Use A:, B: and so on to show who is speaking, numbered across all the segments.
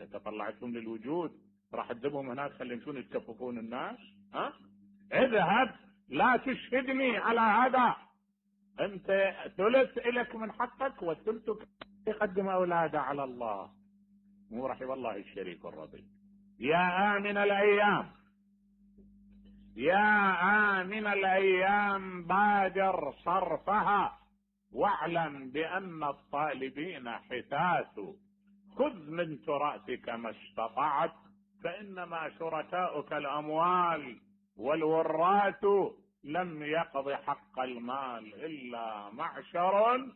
A: انت طلعتهم للوجود راح تذبهم هناك خليهم شنو يتكففون الناس؟ اذهب لا تشهدني على هذا. انت ثلث لك من حقك والثلث يقدم اولاده على الله، مو رحم الله الشريك الرضي. يا آمن الأيام، يا آمن الأيام بادر صرفها، واعلم بأن الطالبين حثاث، خذ من تراثك ما استطعت، فإنما شركاؤك الأموال، والوراث لم يقض حق المال إلا معشر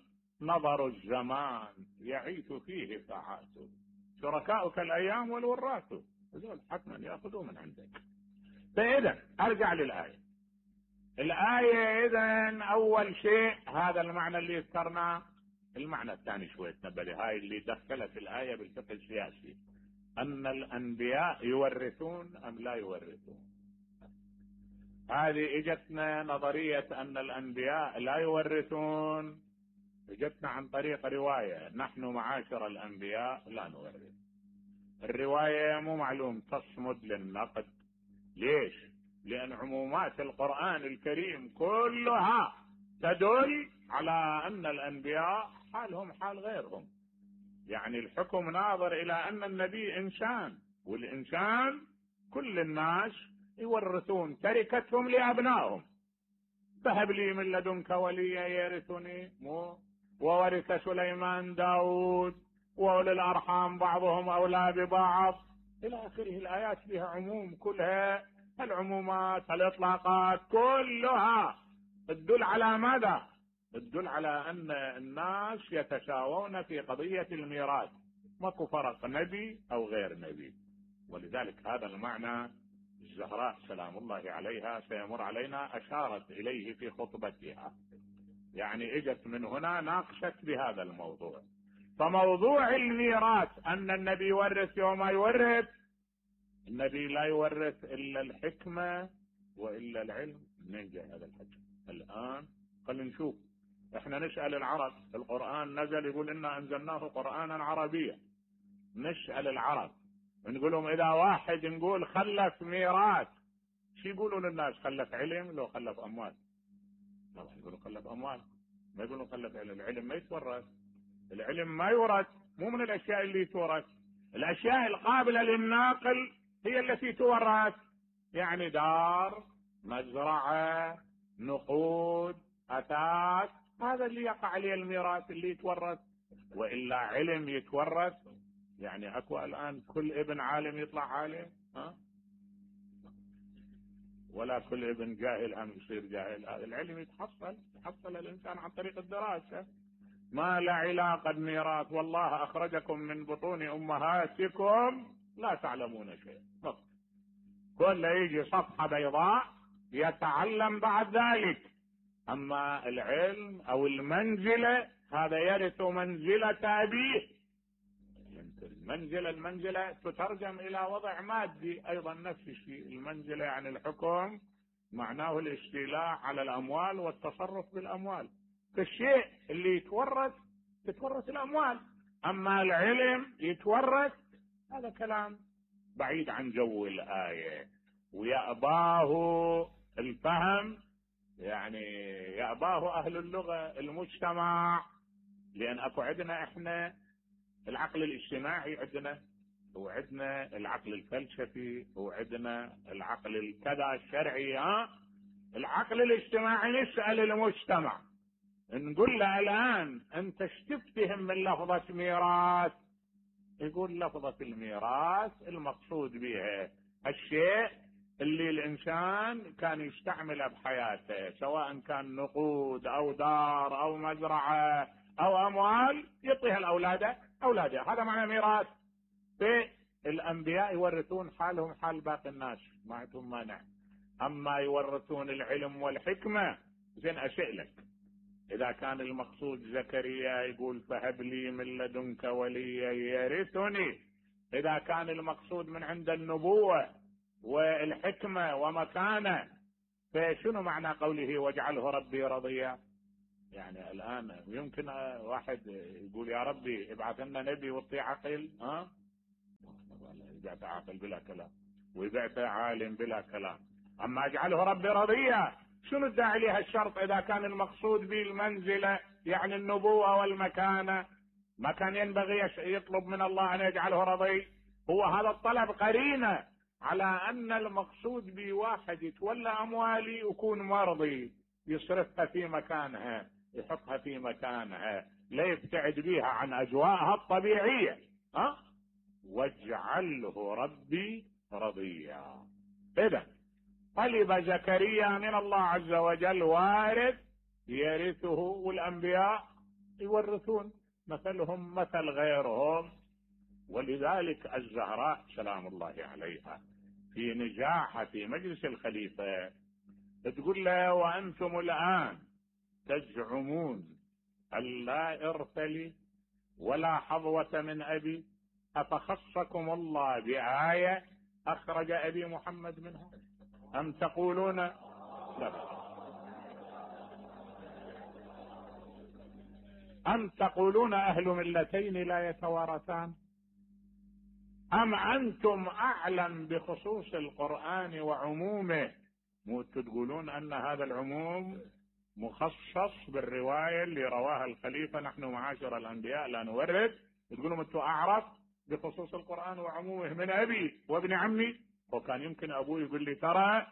A: نظر الزمان يعيث فيه ساعات. شركاؤك الأيام والوراث هذول حتما يأخذوا من عندك. فإذا أرجع للآية. الآية إذن أول شيء هذا المعنى اللي ذكرناه. المعنى الثاني شوية تنبه، هاي اللي دخلت الآية بالفقه السياسي، أن الأنبياء يورثون أم لا يورثون. هذه اجتنا نظرية أن الأنبياء لا يورثون، اجتنا عن طريق رواية نحن معاشر الأنبياء لا نورث. الرواية مو معلوم تصمد للنقد. ليش؟ لأن عمومات القرآن الكريم كلها تدل على أن الأنبياء حالهم حال غيرهم. يعني الحكم ناظر إلى أن النبي إنسان، والإنسان كل الناس يورثون تركتهم لأبنائهم. فهب لي من لدنك وليا يرثني، وورث سليمان داود، وأولي الأرحام بعضهم أولى ببعض إلى آخره. الآيات بها عموم كلها، العمومات الإطلاقات كلها تدل على ماذا؟ تدل على أن الناس يتساوون في قضية الميراث، ماكو فرق نبي أو غير نبي. ولذلك هذا المعنى الزهراء سلام الله عليها سيمر علينا أشارت إليه في خطبتها، يعني اجت من هنا ناقشت بهذا الموضوع. فموضوع الميراث أن النبي يورث يوم يورث، النبي لا يورث إلا الحكمة وإلا العلم. منين جاء هذا الحكم؟ الآن خلينا نشوف. احنا نسأل العرب، القرآن نزل يقول إنا أنزلناه قرآنا عربيا. نسأل العرب نقول لهم إذا واحد نقول خلف ميراث شو يقولوا للناس؟ خلف علم لو خلف أموال؟ طبعا يقولوا خلف أموال، ما يقولوا خلف علم. العلم ما يتورث، العلم ما يورث، مو من الأشياء اللي تورث. الأشياء القابلة للناقل هي التي تورث، يعني دار، مزرعة، نقود، أثاث، هذا اللي يقع عليه الميراث اللي يتورث. وإلا علم يتورث؟ يعني أكو الآن كل ابن عالم يطلع عالم؟ ولا كل ابن جاهل هم يصير جاهل. العلم يتحصل الإنسان عن طريق الدراسة. ما لا علاقة بميراث، والله أخرجكم من بطون أمهاتكم لا تعلمون شيء. كل يجي صفحة بيضاء يتعلم بعد ذلك. أما العلم أو المنزلة هذا يرث منزلة أبيه. المنزلة تترجم إلى وضع مادي أيضا نفس الشيء. المنزلة يعني الحكم، معناه الاستيلاء على الأموال والتصرف بالأموال. فالشيء اللي يتورث تتورث الأموال، أما العلم يتورث هذا كلام بعيد عن جو الآية، ويأباه الفهم، يعني يأباه أهل اللغة المجتمع. لأن أكو عندنا إحنا العقل الاجتماعي عندنا، وعندنا العقل الفلسفي، وعندنا العقل الكذا الشرعي. العقل الاجتماعي نسأل المجتمع نقول له الآن أنت ايش تفتهم من لفظة ميراث؟ يقول لفظة الميراث المقصود بها الشيء اللي الإنسان كان يستعمله بحياته، سواء كان نقود أو دار أو مزرعة أو أموال، يعطيها أولاده. هذا معنى ميراث. الأنبياء يورثون حالهم حال باقي الناس، ما عندهم مانع. أما يورثون العلم والحكمة، زين أسألك، إذا كان المقصود زكريا يقول فهب لي من لدنك وليا يرثني، إذا كان المقصود من عند النبوة والحكمة ومكانه، فشنو معنى قوله واجعله ربي رضيا؟ يعني الآن يمكن واحد يقول يا ربي ابعث لنا نبي وطي عقل، بعثه عاقل بلا كلام، وبعثه عالم بلا كلام. اما اجعله ربي رضيا، شنو الداعي لها الشرط اذا كان المقصود به المنزله يعني النبوه والمكانه؟ ما كان ينبغي يطلب من الله ان يجعله رضي؟ هو هذا الطلب قرينه على ان المقصود به واحد يتولى اموالي ويكون مرضي، يصرفها في مكانها، يحطها في مكانها، لا يبتعد بها عن اجواءها الطبيعيه. واجعله ربي رضيا. اذا طلب زكريا من الله عز وجل وارث يرثه، والانبياء يورثون، مثلهم مثل غيرهم. ولذلك الزهراء سلام الله عليها في نجاحها في مجلس الخليفة تقول له: وأنتم الآن تزعمون أن لا إرث لي ولا حظوة من أبي، أفخصكم الله بآية أخرج أبي محمد منها؟ أم تقولون لا، أم تقولون أهل ملتين لا يتوارثان؟ أم أنتم أعلم بخصوص القرآن وعمومه؟ مو تقولون أن هذا العموم مخصص بالرواية اللي رواها الخليفة: نحن معاشر الأنبياء لا نورث. تقولون أنتم أعرف بخصوص القرآن وعمومه من أبي وابن عمي. وكان يمكن أبوي يقول لي: ترى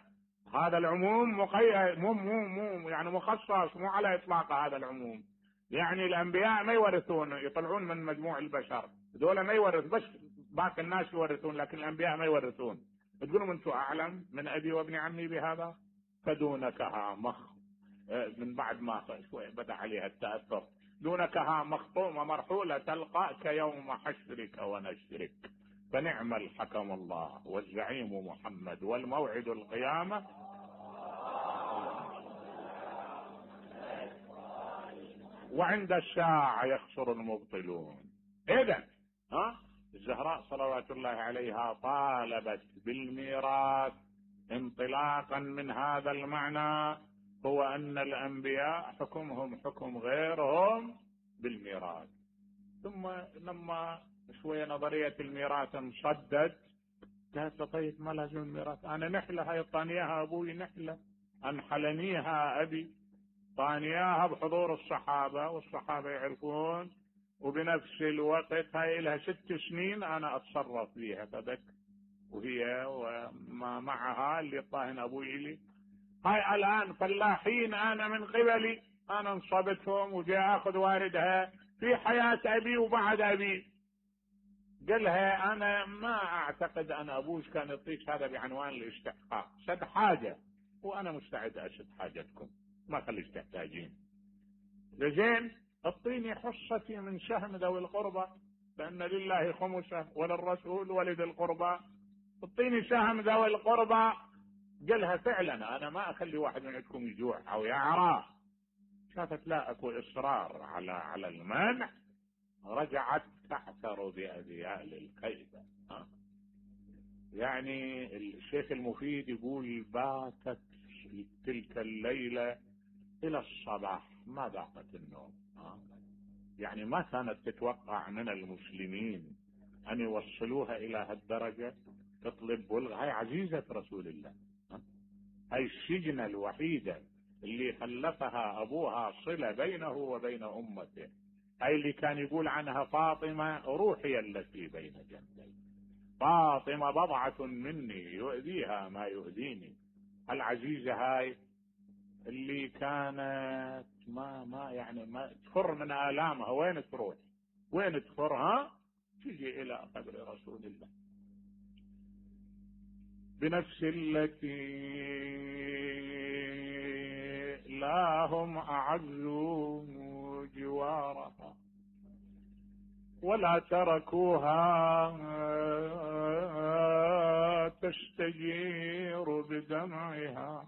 A: هذا العموم مقيد، مو يعني مخصص، مو على إطلاق هذا العموم. يعني الأنبياء ما يورثون، يطلعون من مجموع البشر، دول ما يورث، بس باقي الناس يورثون، لكن الأنبياء ما يورثون. تقولون أنتم أعلم من أبي وابن عمي بهذا؟ فدونكها من بعد ما شوي بدأ عليها التأثر: دونكها مخطومة مرحولة تلقاك يوم حشرك ونشرك، فنعم الحكم الله والزعيم محمد والموعد القيامة. وعند الساعة يخسر المبطلون. إذن الزهراء صلوات الله عليها طالبت بالميراث انطلاقا من هذا المعنى، هو أن الأنبياء حكمهم حكم غيرهم بالميراث. ثم لما شوية نظرية الميراث انصدت، قالت: طيب ما لازم الميراث، أنا نحلة هاي طانياها أبوي، نحلة أنحلنيها أبي، طانياها بحضور الصحابة والصحابة يعرفون، وبنفس الوقت هاي لها 6 سنين أنا أتصرف فيها فدك، وهي وما معها اللي طاهن أبوي لي. هاي الآن فلاحين أنا من قبلي، أنا انصبتهم وجاء أخذ واردها في حياة أبي وبعد أبي. قالها: أنا ما أعتقد أن أبوش كان يعطيك هذا بعنوان الاستحقاق، سد حاجة وأنا مستعد أسد حاجتكم، ما خليش تحتاجين. لزين اعطيني حصتي من سهم ذوي القربى، لأن لله خمسه وللرسول ولذي القربى، اعطيني سهم ذوي القربى. قالها: فعلا أنا ما أخلي واحد منكم يجوع أو يعرى. شافت لا أكو إصرار على المنع، رجعت تعثر بأذيال الخيبة. يعني الشيخ المفيد يقول: باتت تلك الليلة إلى الصباح ما ذاقت النوم. يعني ما كانت تتوقع من المسلمين أن يوصلوها إلى هالدرجة، تطلب بلغ. هاي عزيزة رسول الله، هاي السجنة الوحيدة اللي خلفها أبوها صلة بينه وبين أمته، هاي اللي كان يقول عنها: فاطمة روحي التي بين جنبي، فاطمة بضعة مني يؤذيها ما يؤذيني. العزيزة هاي اللي كانت ما تفر من آلامها، وين تروح وين تفرها؟ تجي إلى قبر رسول الله بنفس التي لا هم أعزوا جوارها ولا تركوها تستجير بدمعها.